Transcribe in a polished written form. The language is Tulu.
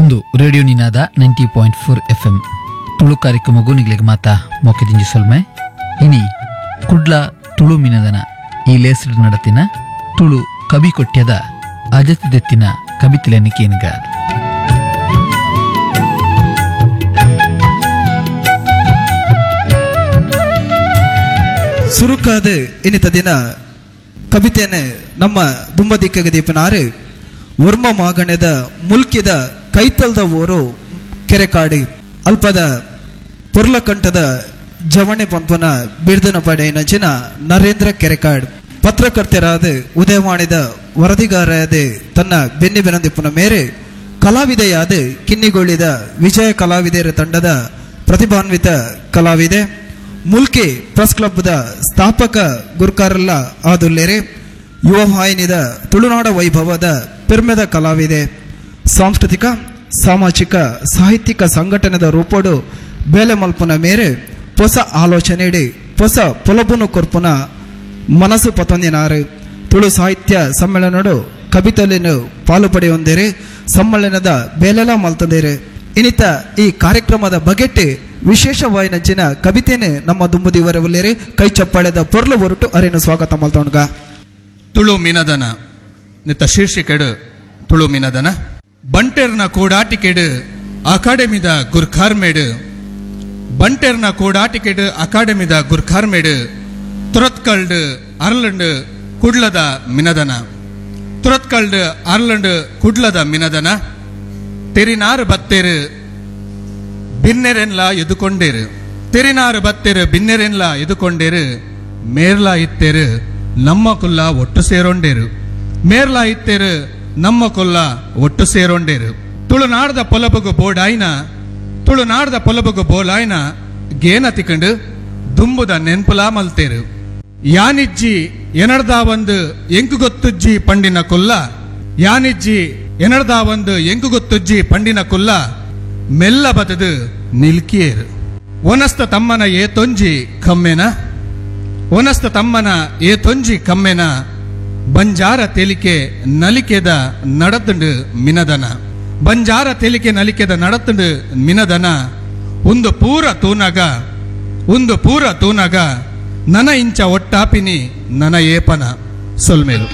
ಒಂದು radio Ninada 90.4 F M Tulu ಕಾರ್ಯಕ್ರಮಗೂ ನಿಗ್ಲಿಗೆ ಮಾತಾ ಮೊಕ್ಕೆದಿಂಜಿ ಸೊಲ್ಮೆ. ಇನಿ ಕುಡ್ಲ ತುಳು ಮಿನದನ ಈ ಲೇಸಡ್ ನಡತಿನ ತುಳು ಕವಿ ಕೊಟ್ಯದ ಅಜತಿದೆತ್ತಿನ ಕವಿತೆಲೆನ ಕೇನ್ಗ. ಸುರುಕಾದ ಇನ್ನಿತ ದಿನ ಕವಿತೆಯನ್ನು ನಮ್ಮ ದುಂಬದಿಕ್ಕಗೆ ದೀಪನಾರು ವರ್ಮ ಮಾಗಣದ ಮುಲ್ಕಿದ ಕೈತಲ್ದ ಊರು ಕೆರೆಕಾಡಿ ಅಲ್ಪದ ಪೊರ್ಲಕಂಠದ ಜವಣೆ ಪಂಪನ ಬಿರ್ದನ ಪಡೆಯಿನಂಚಿನ ನರೇಂದ್ರ ಕೆರೆಕಾಡ್ ಪತ್ರಕರ್ತರಾದ ಉದಯವಾಣಿದ ವರದಿಗಾರರಾದ ತನ್ನ ಬೆನ್ನಿ ಬೆನಂದಿಪ್ಪನ ಮೇರೆ ಕಲಾವಿದೆಯಾದ ಕಿನ್ನಿಗೋಳಿದ ವಿಜಯ ಕಲಾವಿದೆಯರ ತಂಡದ ಪ್ರತಿಭಾನ್ವಿತ ಕಲಾವಿದೆ ಮುಲ್ಕಿ ಪ್ರೆಸ್ ಕ್ಲಬ್ದ ಸ್ಥಾಪಕ ಗುರ್ಕಾರಲ್ಲ ಆದುಲ್ಲೇರೆ ಯುವ ವಾಹಿನಿದ ತುಳುನಾಡ ವೈಭವದ ಪೆರ್ಮೆದ ಕಲಾವಿದೆ ಸಾಂಸ್ಕೃತಿಕ ಸಾಮಾಜಿಕ ಸಾಹಿತ್ಯಿಕ ಸಂಘಟನೆದ ರೂಪೋಡು ಬೇಲೆ ಮಲ್ಪುನ ಮೇರೆ ಹೊಸ ಆಲೋಚನೆಡಿ ಹೊಸ ಪೊಲಬುನು ಕೊರ್ಪುನ ಮನಸ್ಸು ಪತೊಂದಿನಾರು ತುಳು ಸಾಹಿತ್ಯ ಸಮ್ಮೇಳನಡು ಕವಿತೆಯನ್ನು ಪಾಲು ಪಡೆಯೊಂದಿರಿ ಸಮ್ಮೇಳನದ ಬೇಲೆಲ ಮಲ್ತಂದಿರಿ. ಇನ್ನಿತ ಈ ಕಾರ್ಯಕ್ರಮದ ಬಗೆಟ್ ವಿಶೇಷವಾಯಿನಂಚಿನ ಕವಿತೆನೆ ನಮ್ಮ ದುಂಬುದಿವರ ಉಲ್ಲೇರಿ ಕೈ ಚಪ್ಪಾಳೆದ ಪೊರ್ಲು ಹೊರಟು ಅರೇನು ಸ್ವಾಗತ ಮಲ್ತೊಣ್ಗ. ತುಳು ಮಿನದನ ನಿತ್ತ ಶೀರ್ಷಿಕೆಡು ತುಳು ಮಿನದನ ಬಂಟೆರ್ನ ಕೂಡಾಟಿಕೆಡು ಅಕಾಡೆಮಿದ ಗುರ್ಖಾರ್ಮೇಡು ಬಂಟೆರ್ನ ಕೂಡಾಟಿಕೆಡು ಅಕಾಡೆಮಿದ ಗುರ್ಖಾರ್ಮೇಡು ತುರತ್ಕಲ್ಡ್ ಅರ್ಲಂಡ್ ಕುಡ್ಲದ ಮಿನದನ ತುರತ್ಕಲ್ಡ್ ಅರ್ಲಂಡ್ ಕುಡ್ಲದ ಮಿನದನ ತೆರಿನಾರು ಬತ್ತೇರು ಬಿನ್ನೆರೆನ್ಲ ಎದುಕೊಂಡೇರು ತೆರಿನಾರು ಬತ್ತೇರು ಬಿನ್ನೆರೆನ್ಲ ಎದುಕೊಂಡೇರು ಮೇರ್ಲಾ ಇತ್ತೇರು ನಮ್ಮ ಕುಲ್ಲ ಒಟ್ಟು ಸೇರೊಂಡೇರು ಮೇರ್ಲಾ ಇತ್ತೇರು ನಮ್ಮ ಕೊಲ್ಲ ಒಟ್ಟು ಸೇರೊಂಡೇರು ತುಳುನಾಡ್ದ ಪೊಲಬುಗು ಬೋಡಾಯ್ನ ತುಳುನಾಡ್ದ ಪೊಲಬುಗು ಬೋಲಾಯ್ನ ಗೇನ ತಿಕಂಡು ದುಂಬುದ ನೆನ್ಪುಲಾ ಮಲ್ತೇರು ಯಾನಿಜ್ಜಿ ಎನಡ್ದ ಒಂದು ಎಂಕು ಗೊತ್ತುಜ್ಜಿ ಪಂಡಿನ ಕೊಲ್ಲ ಯಾನಿಜ್ಜಿ ಎನಡ್ದ ಒಂದು ಎಂಕು ಗೊತ್ತುಜ್ಜಿ ಪಂಡಿನ ಕೊಲ್ಲ ಮೆಲ್ಲ ಬತದು ನಿಲ್ಕಿಯೇರು ಒನಸ್ತ ತಮ್ಮನ ಏತೊಂಜಿ ಕಮ್ಮೆನ ಒನಸ್ತ ತಮ್ಮನ ಏತೊಂಜಿ ಕಮ್ಮೆನ ಬಂಜಾರ ತೇಲಿಕೆ ನಲಿಕೆದ ನಡತುಂಡು ಮಿನದನ ಬಂಜಾರ ತೇಲಿಕೆ ನಲಿಕೆದ ನಡತುಂಡು ಮಿನದನ ಒಂದು ಪೂರ ತೂನಗ ಒಂದು ಪೂರ ತೂನಗ ನನ ಇಂಚ ಒಟ್ಟಾಪಿನಿ ನನ ಏಪನ ಸೊಲ್ಮೇಲು.